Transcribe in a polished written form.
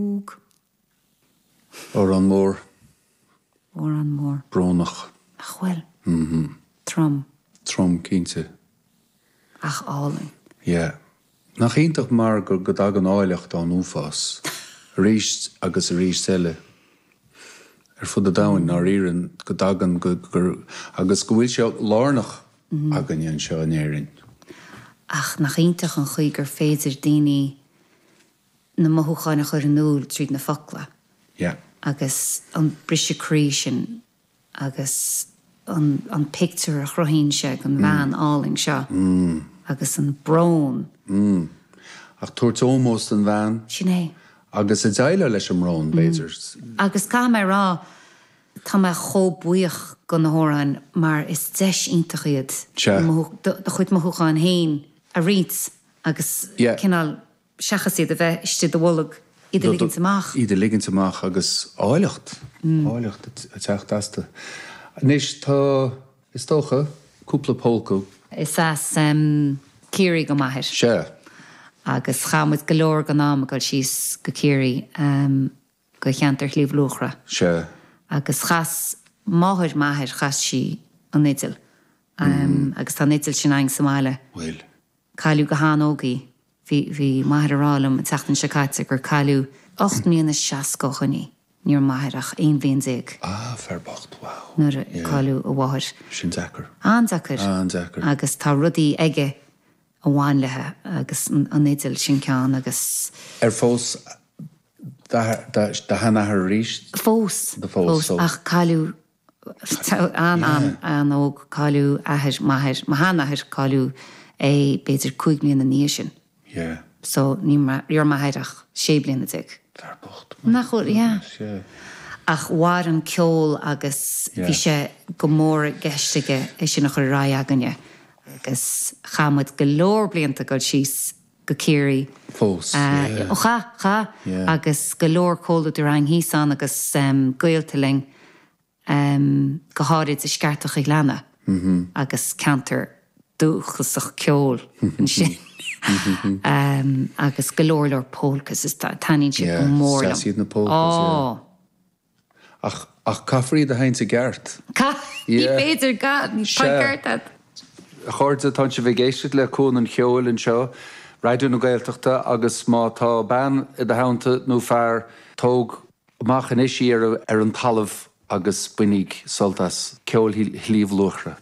Óg. Amhrán mór. Amhrán mór. Brónach. Nach bhfuil? Trom. Trom, cinnte. Ach álainn. Yeah. Nach iontach mar go go dtagann áilleacht ón uafás. Arís agus arís eile. Ar fud an domhain, ndáiríre, go dtagann go gur agus go bhfuil sé lárnach againne anseo in Éirinn. Ach nach iontach an chaoi gur féidir daoine na mothúcháin a chur in iúl tríd na focla. Yeah. Agus an briseadh croí sin agus an an pictiúr a chruthaíonn sé den bhean álainn seo agus an brón. Mm. Ach tabhairt ómós don bhean. Sin é. Agus ag déileáil leis an mbrón, b'fhéidir. Agus caithfidh mé a rá, tá mé chomh buíoch go na hamhráin mar is deis iontach iad do chuid mothúcháin féin a roinnt agus cineál seachas iad a bheith istigh i do bholg, iad a ligint amach. Iad a ligint amach agus áilleacht, áilleacht ag teacht astu. Anois tá, is dócha, cúpla pólca. Is as Ciarraí do m'athair. Sea. Agus chaith muid go leor den am ag dul síos go Ciarraí, go cheantar Shliabh Luachra. Sea. Agus chas máthair m'athair, chas sí an fhidil. Agus tá an fhidil sin againn sa mbaile. Bhfuil. Cailleadh go han-óg í. Bhí, bhí m'athair ag rá liom an tseachtain seo caite gur cailleadh 8 mbliana is 60 ó shoin í. Ní raibh m'athair ach 11 bhliain. Ah, fear bocht, wow. Nuair a cailleadh a mháthair. Sin deacair. An-deacair. An-deacair. Agus tá rudaí aige a bhain léi agus an fhidil, sin ceann agus. Ar phós do sheanathair arís? Phós, phós, ach cailleadh An-an-an-óg, cailleadh athair m'athair, mo sheanathair, cailleadh é b'fhéidir 5 mbliana ina dhiaidh sin. Yeah. So ní raibh m'athair ach 16 bliana. Fear bocht. Nach bhfuil, yeah. Yeah. Ach mhair an ceol agus bhí sé go mór i gceist aige é sin a chur ar aghaidh againne agus chaith muid go leor blianta ag dul síos go Ciarraí. Fós, yeah. Ó chaith, chaith. Yeah. Agus go leor comhluadar againn thíos ann agus gaolta linn, go háirid i Sceartach a' Ghleanna agus ceantar dúchasach ceoil ansin. Agus go leor leor polkas is taitníonn siad go mór liom. Yeah, is deas iad na polkas, yeah. Ó! Ach, ach caithfear iad a sheinnt i gceart. Caith, ní féidir gan, tá an ceart agat. A chairde, tá sibh ag éisteacht le Cuan an Cheoil anseo, Raidió na Gaeltachta, agus má tá bean i do theannta nó fear, tóg amach anois í ar an talamh agus bainíg sult as ceol Shliabh Luachra.